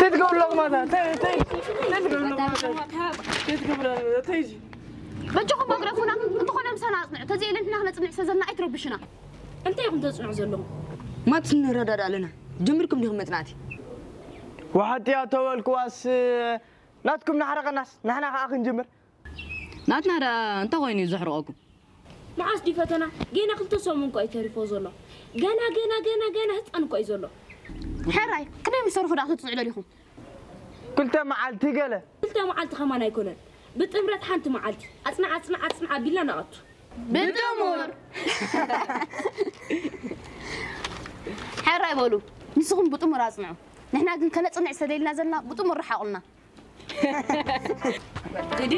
እንታይ ትገብሩ ኣለኹም ኣታ? እንታይ እንታይ እንታይ ትገብሩ ኣለኹም ኣታ? እንታይ ትገብሩ ኣለኹም ኣታ? እንታይ እዩ? በጃኹም ኣግረፉና። እንተኾነ ምሳና ኣጽንዑ። ተዘይኢለን ንሕና ክነጽንዕ ስለ ዘለና ኣይትረብሹና። እንታይ ኢኹም ተጽንዑ ዘለኹም? ማትስ ንረዳዳ ኣለና። ጀምርኩም ዲኹም መጽናዕቲ? ወሓጥያ ተበልክዋስ ናትኩም ናሕረቐናስ ንሕና ከኣ ክንጅምር። ናትና ደኣ እንታይ ኮይኑ እዩ ዘሕርቐኩም? መዓስ ድዩ ፈተና? ገና ክልተ ሰሙን እኮ እዩ ተሪፎ ዘሎ። ገና ገና ገና ገና ህፃን እኮ እዩ ዘሎ። ሕራይ ክንደይ ምስ ተርፉ ደኣ ክትፅንዑ ደሊኹም? ክልተ መዓልቲ ገለ። ክልተ መዓልቲ ከማን ኣይኮነን። ብጥምረት ሓንቲ መዓልቲ ኣፅንዕ ኣፅንዕ ኣፅንዕ ኣቢልና ንኣቱ። ብጥሙር። ሕራይ በሉ ንስኹም ብጥሙር ኣፅንዑ። ንሕና ግን ከነፅንዕ ሰደልና ዘለና ብጥሙር ረሓቑልና። ግዲ